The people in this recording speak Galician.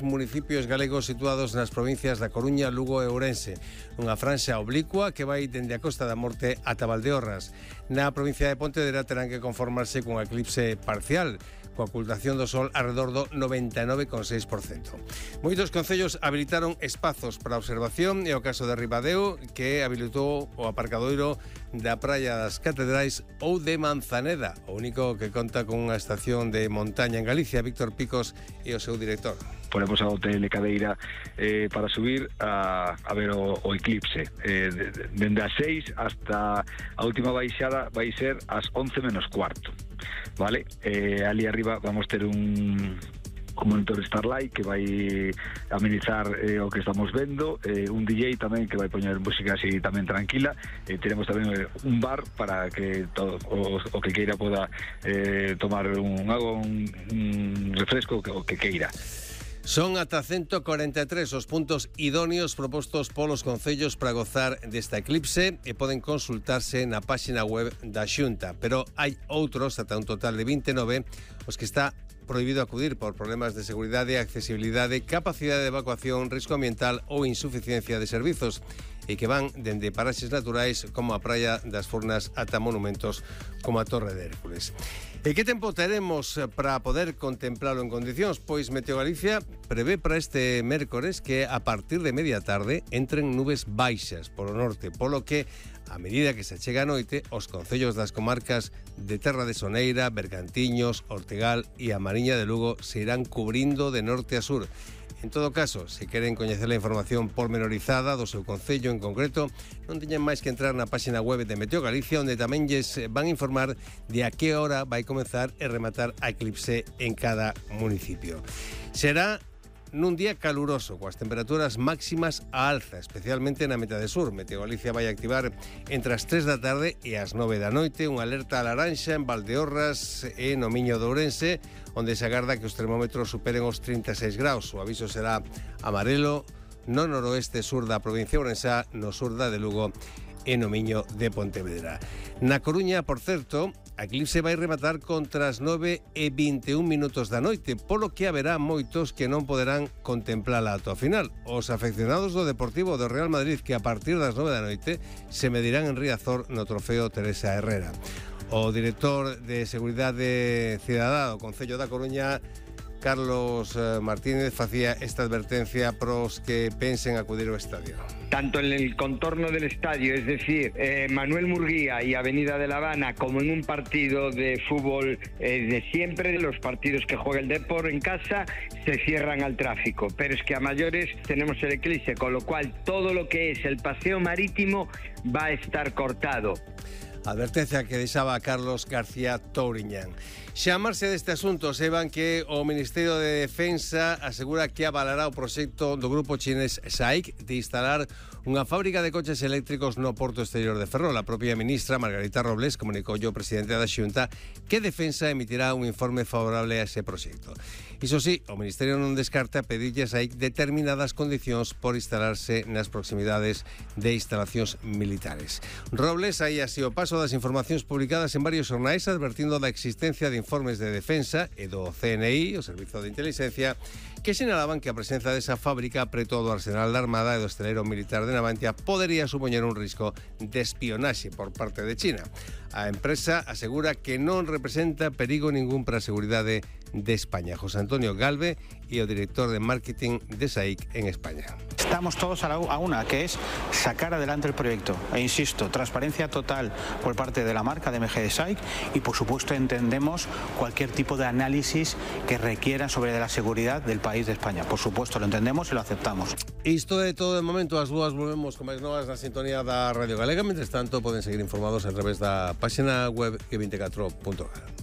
municipios galegos situados nas provincias da Coruña, Lugo e Ourense. Unha franxa oblicua que vai dende a Costa da Morte ata Valdeorras. Na provincia de Pontevedra terán que conformarse cun eclipse parcial, coa ocultación do sol alrededor do 99,6%. Moitos concellos habilitaron espazos para observación e o caso de Ribadeo, que habilitou o aparcadoiro da Praia das Catedrais ou de Manzaneda, o único que conta con unha estación de montaña en Galicia. Víctor Picos e o seu director. Ponemos a hotel de cadeira para subir a ver o eclipse. Dende as 6 hasta a última baixada vai ser ás 11 menos cuarto. Vale? Ali arriba vamos ter un monitor Starlight que vai amenizar o que estamos vendo, un DJ tamén que vai poñer música así tamén tranquila, teremos tamén un bar para que todo o que queira poda tomar un agua, un refresco, o que queira. Son ata 143 os puntos idóneos propostos polos concellos para gozar desta eclipse e poden consultarse na páxina web da Xunta, pero hai outros, ata un total de 29, os que está prohibido acudir por problemas de seguridade, accesibilidade, capacidade de evacuación, risco ambiental ou insuficiencia de servizos, e que van dende paraxes naturais como a Praia das Furnas ata monumentos como a Torre de Hércules. E que tempo teremos para poder contemplalo en condicións? Pois Meteo Galicia prevé para este mércores que a partir de media tarde entren nubes baixas polo norte, polo que a medida que se chega a noite, os concellos das comarcas de Terra de Soneira, Bergantiños, Ortegal e a Mariña de Lugo se irán cubrindo de norte a sur. En todo caso, se queren coñecer a información pormenorizada do seu concello en concreto, non teñen máis que entrar na páxina web de Meteo Galicia, onde tamén lles van a informar de a que hora vai comezar e rematar a eclipse en cada municipio. Será nun día caluroso, coas temperaturas máximas a alza, especialmente na metade sur. Meteo Galicia vai activar entre as 3 da tarde e as 9 da noite unha alerta a laranxa en Valdeorras e no Miño de Ourense, onde se agarda que os termómetros superen os 36 graus. O aviso será amarelo no noroeste sur da provincia ourensá, no sur da de Lugo e no Miño de Pontevedra. Na Coruña, por certo, a eclipse vai rematar contra as 9:21 da noite, polo que haberá moitos que non poderán contemplala ata o final. Os afeccionados do Deportivo do Real Madrid, que a partir das 9 da noite se medirán en Riazor no trofeo Teresa Herrera. O director de Seguridade Cidadá do Concello da Coruña, Carlos Martínez, facía esta advertencia pros que pensen acudir ao estadio. Tanto en el contorno del estadio, es decir, Manuel Murguía y Avenida de La Habana, como en un partido de fútbol de siempre, los partidos que juega el Depor en casa, se cierran al tráfico. Pero es que a mayores tenemos el eclipse, con lo cual todo lo que es el paseo marítimo va a estar cortado. Advertencia que deixaba Carlos García Touriñán. Xa a marxe deste asunto, seban que o Ministerio de Defensa asegura que avalará o proxecto do grupo chinés SAIC de instalar unha fábrica de coches eléctricos no porto exterior de Ferrol. A propia ministra Margarita Robles comunicou ao presidente da Xunta que Defensa emitirá un informe favorable a ese proxecto. Iso sí, o Ministerio non descarta pedirlle a SAIC determinadas condicións por instalarse nas proximidades de instalacións militares. Robles aí así o paso das informacións publicadas en varios xornais advertindo da existencia de informes de defensa e do CNI, o Servizo de Inteligencia, que sinalaban que a presenza desa fábrica preto do arsenal da Armada e do esteleiro militar de Navantia podería supoñer un risco de espionaxe por parte de China. A empresa asegura que non representa perigo ningún para a seguridade de España. José Antonio Galve e o director de marketing de SAIC en España. Estamos todos a una, que es sacar adelante el proyecto. E insisto, transparencia total por parte de la marca de MG de SAIC y, por supuesto, entendemos cualquier tipo de análisis que requiera sobre la seguridad del país de España. Por supuesto, lo entendemos y lo aceptamos. Isto é todo de momento. As dúas volvemos con máis novas na sintonía da Radio Galega. Mentres tanto, poden seguir informados a través da página web e24.gal.